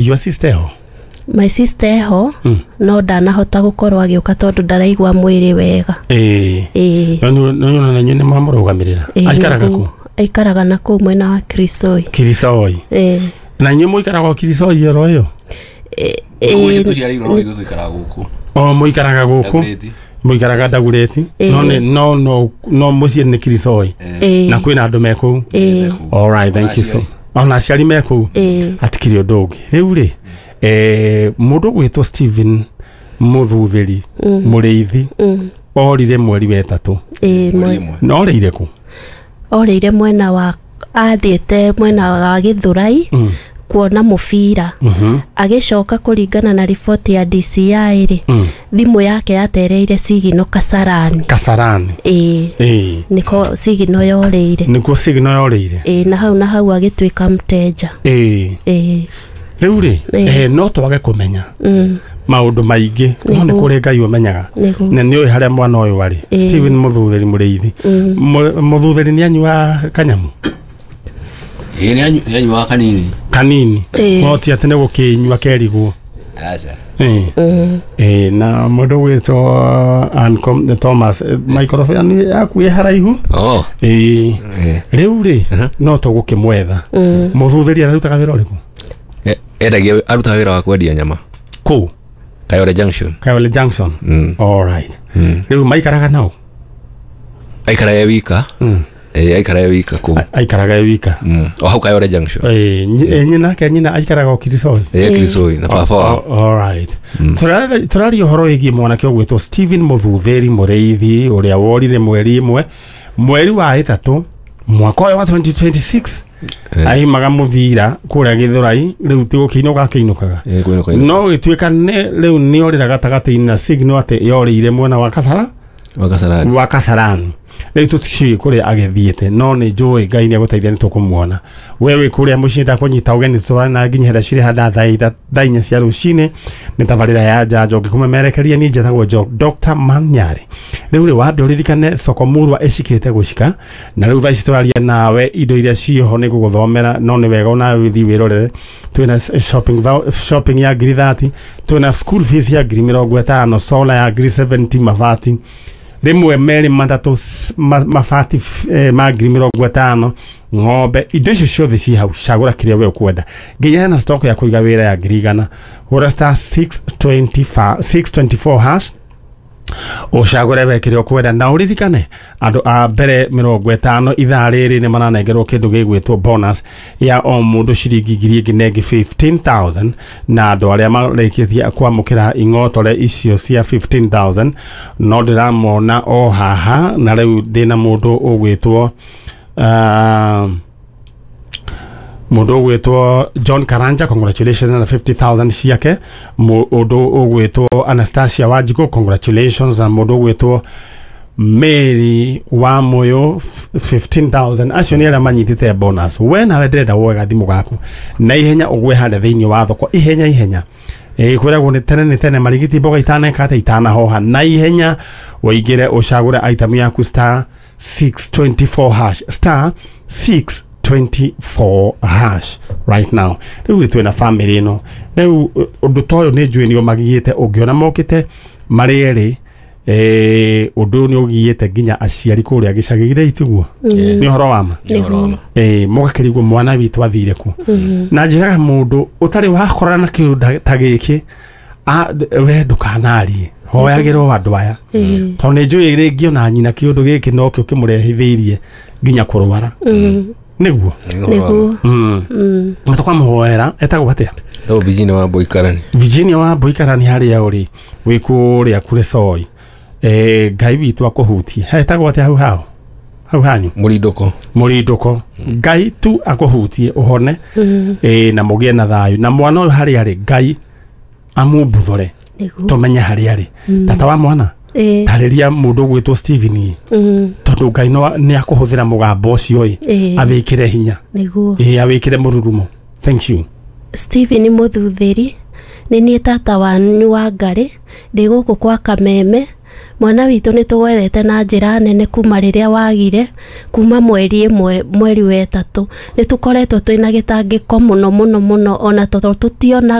Your sister ho? My sister ho. No ndanahota gũkorwo agĩũka tondũ ndaraigua mwĩrĩ wega. Ĩĩ. No no na nyone mamũrũgamĩrĩra. Aikaraga kũ? Aikaraga na kũu mwena wa Kirisoi. Kirisoi. Ĩĩ. Na inyuĩ mũikaraga o Kirisoi oro ĩyo? Ĩĩ. Tũciarĩirwo no ithuĩ tũikaraga gũkũ. O mũikaraga gũkũ? Mũikaraga Dagoretti. No no no no mũciĩ nĩ Kirisoi. Na kwĩna andũ me kũu. All right, thank you so. Ona aciari me kũu. Hatikĩrĩ ũndũ ũngĩ. Rĩu rĩ, mũndũ ũgwĩtwo Stephen Mũthuthĩri Mũrĩithi orire mweri wa ĩtatũ. Na orĩire kũ? Orĩire mwena wa athiĩte mwena wa Gĩthũrai kuona mũbira. Agĩcoka kũringana na riboti ya DCI rĩ, thimũ yake yatereire sigino Kasarani. Kasarani. Ĩĩ. Nĩko sigino yorĩire. Nĩkuo sigino yorĩire. Ĩĩ, na hau agĩtuĩka mteja. Ĩĩ. Ĩĩ. Rĩu rĩ, no twage kũmenya maũndũ maingĩ, no nĩ kũrĩ Ngai ũmenyaga. Na nĩ ũĩ harĩa mwana ũyũ arĩ. Stephen Mũthuthĩri Mũrĩithi. Mũthuthĩri nĩ anyua kanyamu? Ĩĩ, nĩ anyuaga kanini. Kanini. No ti atĩ nĩ gũkĩnyua kerigwo. Aca. Ĩĩ, na mũndũ ũgwĩtwo Thomas, microphone yaku ĩ haraihu. Ĩĩ. Rĩu rĩ, no tũgũkĩmwetha. Mũthuthĩri ararutaga wĩra ũrĩkũ? Endagia, arutaga wĩra wa kwendia nyama. Kũu? Kayole Junction. Kayole Junction. All right. Rĩu maikaraga nao? Aikaraga e wika. Ĩĩ, aikaraga e wika kũu. Aikaraga e wika. O hau Kayole Junction. Ĩĩ, nyina ke nyina aikaraga o Kirisoi. Ĩĩ, Kirisoi na baba wao. All right. Tũraria ũhoro wĩgiĩ mwanake ũgwĩtwo Stephen Mũthuthĩri Mũrĩithi ũrĩa worire mweri ĩmwe mweri wa ĩtatũ mwaka ũyũ wa 2026. Aimaga mũbira kũrĩa Gĩthũrai, rĩu ti gũkĩinũka akĩinũkaga. No gĩtuĩka rĩu nĩ orĩra gatagatĩ-inĩ na signal atĩ yorĩire mwena wa Kasara, wa Kasarani. Rĩu tũticiũĩ kũrĩa agĩthiĩte, no nĩ njũĩ Ngai nĩ egũteithia nĩ tũkũmuona. We wĩ kũrĩa mũciĩ ndakũnyita ũgeni tũtwarane na nginya harĩa cirĩ handa thaa inya cia rũcinĩ. Nĩ tabarĩra ya njanjo ngĩkũmemerekeria niĩ njĩtagwo Dr. Manyari. Rĩu rĩ, wambe ũririkane soko murwa ĩcikĩte gũcika, na rĩu thaa ici tũraria nawe indo iria ciĩho nĩ ngũgũthomera, no nĩ wega onawe ũthiĩ wĩrorere. Twĩna shopping ya ngiri 30, twĩna school fees ya ngiri 50, solar ya ngiri 70, mabati rĩmwe merĩ matatũ, mabati ma ngiri 50, ng'ombe, indo icio ciothe ci hau. Cagũra kĩrĩa we ũkwenda. Nginya hena stock ya kũiga wĩra ya ngiri 100. Hũra star 624 hash ũcagũre we kĩrĩa ũkwenda, na ũririkane andũ a mbere 50 ithaa rĩrĩ nĩ maranengerwo kĩndũ gĩgwĩtwo bonus ya o mũndũ ciringi ngiri ĩngĩ na ĩngĩ 15,000, na andũ arĩa marĩkĩtie kwamũkĩra ing'otore icio cia 15,000 no ndĩramona o haha. Na rĩu ndĩna mũndũ ũgwĩtwo John Karanja, congratulations na 50,000 ciake. Mũndũ ũgwĩtwo Anastasia Wanjikũ, congratulations. Na mũndũ ũgwĩtwo Mary wa Moyo, 15,000. Acio nĩ arĩa manyitĩte bonus. We nawe ndĩrenda woe gathimũ gaku na ihenya ũgwe harĩa thĩinĩ wa thoko ihenya ihenya. Kwĩragwo nĩ tene nĩ tene marigiti mboga itaneka atĩ itanahoha. Na ihenya ũingĩre ũcagũre item yaku star 624 hash, star 624 hash right now. Rĩu twĩna family ĩno. Rĩu ũndũ ta ũyũ nĩ njũĩ nĩ ũmagiĩte, ũngĩona mokĩte marĩ erĩ, ũndũ ũyũ nĩ ũgiĩte nginya aciari kũrĩa gĩcagi-inĩ, itiguo nĩ ũhoro wa ma. Mũgakĩrigwo mwana witũ athire kũ. Na njĩraga mũndũ ũtarĩ wakorana na kĩũndũ ta gĩkĩ, we ndũkanarie, hoyagĩrwo andũ aya, tondũ nĩ njũĩ rĩngĩ ona nyina kĩũndũ gĩkĩ nokĩo kĩmũrehithĩirie nginya kũrwara. Nĩguo. Nĩguo. Na tũkamũhoera. Etagwo atĩa? Etagwo Virginia wa Boikarani. Virginia wa Boikarani, harĩa ũrĩ wĩ kũrĩa Kuresoi. Ngai witũ akũhutie. Etagwo atĩa hau hao? Hau hanyu? Mũrindũko. Mũrindũko. Ngai tu akũhutie ũhone. Na mũgĩe na thayũ. Na mwana ũyũ harĩa arĩ, Ngai amumbuthũre. Tũmenye harĩa arĩ. Tata wa mwana, tarĩria mũndũ ũgwĩtwo Stephen, tondũ Ngai nĩ akũhũthĩra mũgambo ũcio ĩ, awĩkĩre hinya. Nĩguo. Awĩkĩre mũrurumo. Thank you. Stephen Mũthuthĩri, nĩ niĩ tata wanyu wa Ngarĩ, ndĩ gũkũ kwa Kameme. Mwana witũ nĩ tũgwethete na njĩra nene kuma rĩrĩa wagire, kuma mweri 1 mweri wa 3 nĩ tũkoretwo twĩna gĩtangĩko mũno mũno mũno, ona tondũ tũtiona.